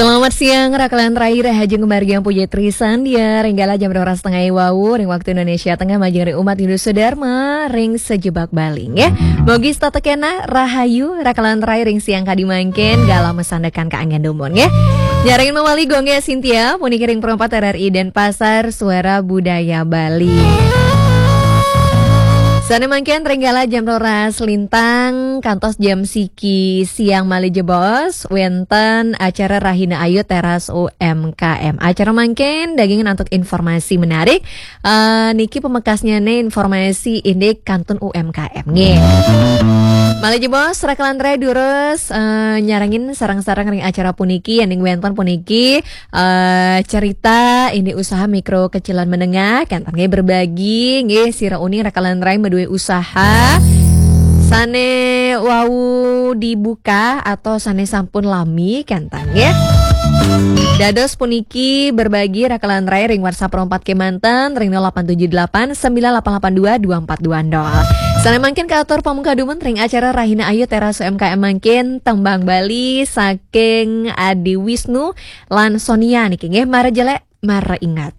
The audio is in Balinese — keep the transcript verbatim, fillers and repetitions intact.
Selamat siang, Raka lan Rai, Rahajeng Kemargian Puji Trisandia, ring galah jam dua belas setengah wau, ring waktu Indonesia Tengah, majeng ring umat Hindu Sudharma, ring sajebag Bali, nggih. Mugi setata kenah, rahayu, Raka lan Rai, ring siang kadi mangkin, galah masandekan kaanggén dumun, nggih. Nyarengin malih Gung Cynthia, puniki ring Pro empat R R I Denpasar, Suara Budaya Bali. Sané mangkin ring galah jam dua belas lintang, kantos jam siki siang malih jebos, wénten acara Rahina Ayu Teras U M K M. Acara mangkin dagingin antuk informasi menarik. Eh, niki pamekasnyané informasi indik kantun U M K M, nggih. Malih jebos, Raka lan Rai durus, eh, nyarengin sareng-sareng ring acara puniki, yéning wénten puniki, eh, cerita indik usaha mikro kecil lan menengah, kénten nggih, berbagi, nggih, sira uning Raka lan Rai madué usaha sané wau dibuka atau sané sampun lami, kénten nggih. Dados puniki berbagi Raka lan Rai ring WhatsApp Pro empat kémanten ring nol delapan tujuh delapan sembilan delapan delapan dua dua empat dua nol. Sané mangkin katur pamungkah dumun ring acara Rahina Ayu Teras U M K M mangkin, tembang Bali saking Adi Wisnu lan Sonia niki, nggih, Mara Jelek, Mara Ingat.